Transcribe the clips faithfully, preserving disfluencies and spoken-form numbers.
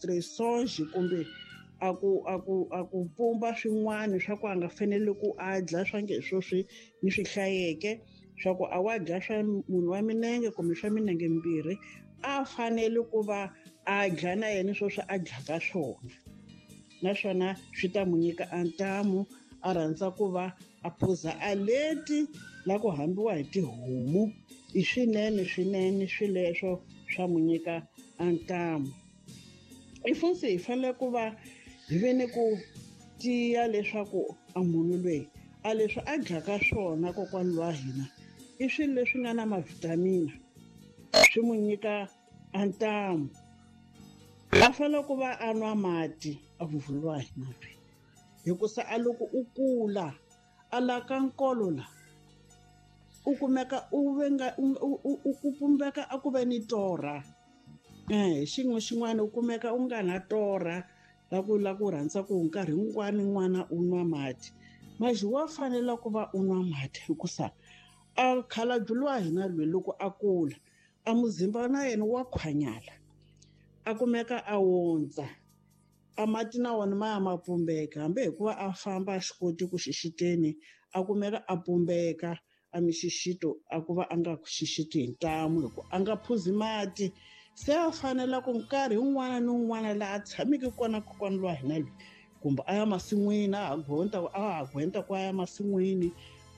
ma-restrictions kumbe a ku a ku a ku pumba swin'wana swa ku a nga fanele ku a dya swa nge sweswi ni swi hlayeke swa ku a wa dya swa munhu wa minenge kumbe swa minenge mimbirhi a fanele ku va a dya na yena sweswi a dyaka swona naswona swi ta mu nyika a ntamu a rhandza ku va a phuza a leti la ku hambiwa hi tihomu i swinene swinene swileswo swa mu nyika a ntamu i futhi hi fanele ku va hi ve ni ku tiya leswaku a munhu loyi a leswi a dyaka swona kokwana wa hina i swilo leswi nga na mavhitamini swi mu nyika a ntamu a fanele ku va a nwa mati a vuvhuliwa hina loyi hikusa a loko u kula a la ka nkolo la u kumeka u venga u ku pumbeka a ku ve ni torha eh xin'we xin'wana u kumeka u nga na torha la ku la ku rhandza ku nkarhi wun'wana n'wana u nwa mati maji wa fanela ku va u nwa mati hikusa a khalabye wa hina loyi loko a kula a muzimba na yena wa khwanyala a kumeka a wondza a mati na wona ma ya ma pumbeka hambi hikuva a famba a xi koti ku xixiteni a kumeka a pumbeka a mixixito a ku va a nga xixiti hi ntamu hi ku a nga phuzi mati se a fanela ku nkarhi wun'wana ni wun'wana laha a tshameke kona kokwana lwa hina loyi kumbe a ya masin'wini a ha gonda a ha gwenta ku a ya masin'wini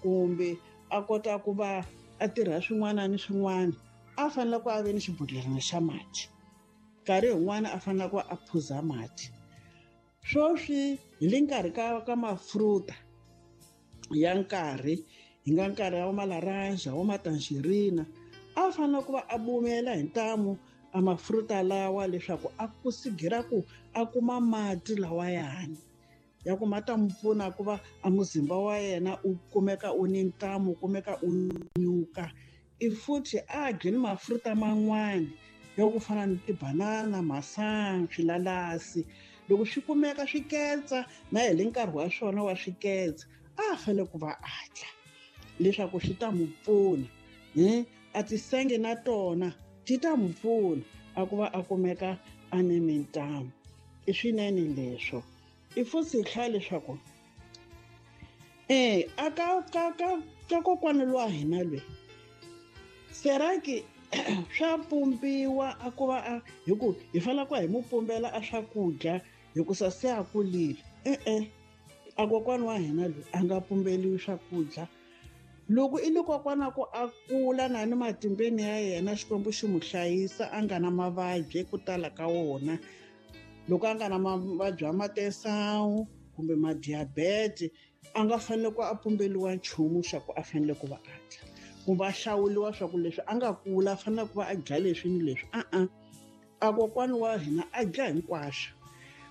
kumbe a kota ku va a tirha swin'wana ni swin'wana a fanele ku a ve ni xibodhlelana xa mati nkarhi wun'wana a fanele ku a phuza mati sweswi hi le nkarhi ka ka mafruta ya nkarhi hi nga nkarhi wa malaranja wa matangerina a fanele ku va a bumela hi ntamu a mafruta lawa leswaku a kusigira ku a kuma mati lawayani ya ku ma ta mu pfuna ku va a muzimba wa yena u kumeka u ni ntamu u kumeka u nyuka i futhi a dyi ni mafruta man'wani ya ku fana ni tibanana masangu swilalasi loko swi kumeka swiketsa na hi le nkarhi wa swona wa swiketsa a fanele ku va a dya leswaku swi ta mu pfuna hi a tisenge na tona ti ta mu pfuna a ku va a kumeka a ni mintamu i swinene leswo i futhi hi hlaya leswaku e a ka ka ka ka kokwana lwa hina loyi seraki swa pumbiwa a ku va a hi ku hi fanele ku hi mu pumbela a swakudya hikusa se a kulile e-e a kokwana wa hina loyi a nga pumbeliwi swakudya loko i ni kokwana ku a kula na ni matimbeni ya yena Xikwembu xi mu hlayisa a nga na mavabyi ku tala ka wona loko a nga na mavabyi ya matesawu kumbe madiabete a nga fanele ku a pumbeliwa nchumu xa ku a fanele ku va a dya kumbe a hlawuliwa swa ku leswi a nga kula a fanele ku va a dya leswi ni leswi a-a a kokwana wa hina a dya hinkwaswo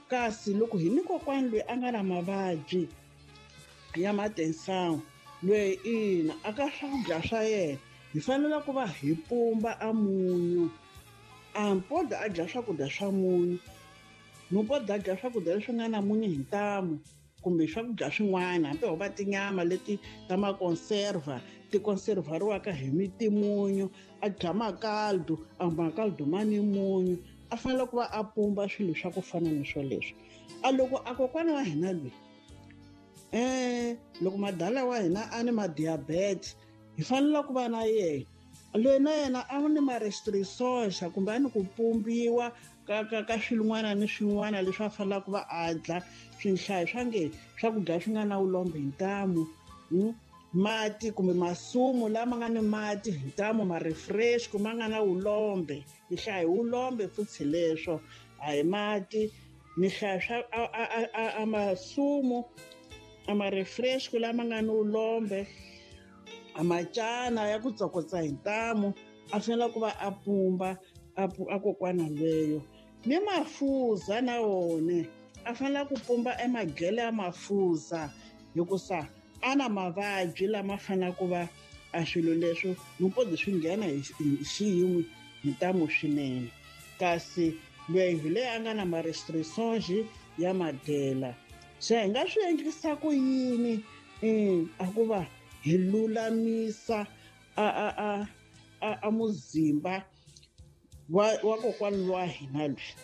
kasi loko hi ni kokwana loyi a nga na mavabyi ya matensawu loyi ina a ka swakudya swa yena hi fanele ku va hi pumba a munyu a mpoda a dya swakudya swa munyu mpoda a dya swakudya leswi nga na munyu hi ntamu kumbe swakudya swin'wana hambi ho va tinyama leti ta makonserva ti konservariwaka hi mitimunyu a dya makaldu a makaldu ma ni munyu a fanele ku va a pumba swilo swa ku fana ni swoleswo a loko a kokwana wa hina loyi eh loko madala wa hina a ni madiabete hi fanele ku va na yena loyi na yena a ni ma-restrictions kumbe a ni ku pumbiwa ka ka ka swin'wana ni swin'wana leswi a fanelaka ku va a dya swinhlayo swa nge swakudya swi nga na vulombe hi ntamu mati kumbe masumu lama nga ni mati hi ntamu ma-refresh kumbe a nga na vulombe ni hlaya hi vulombe futhi leswo a hi mati ni hlaya swa a a a a masumu a ma-refresh lama nga ni vulombe a macana ya ku tsokotsa hi ntamu a fanele ku va a pumba a a kokwana lweyo ni mafuza na wona a fanele ku pumba emadyele ya mafuza hikusa a na mavabyi lama fanele ku va a swilo leswo mupodi swi nghena hi xiyimo hi ntamu swinene kasi loyi hi leyi a nga na ma-restrictions ya madyela se hi nga swi endlisa ku yini a ku va hi lulamisa a a a a a muzimba wa wa kokwana wa hina loyi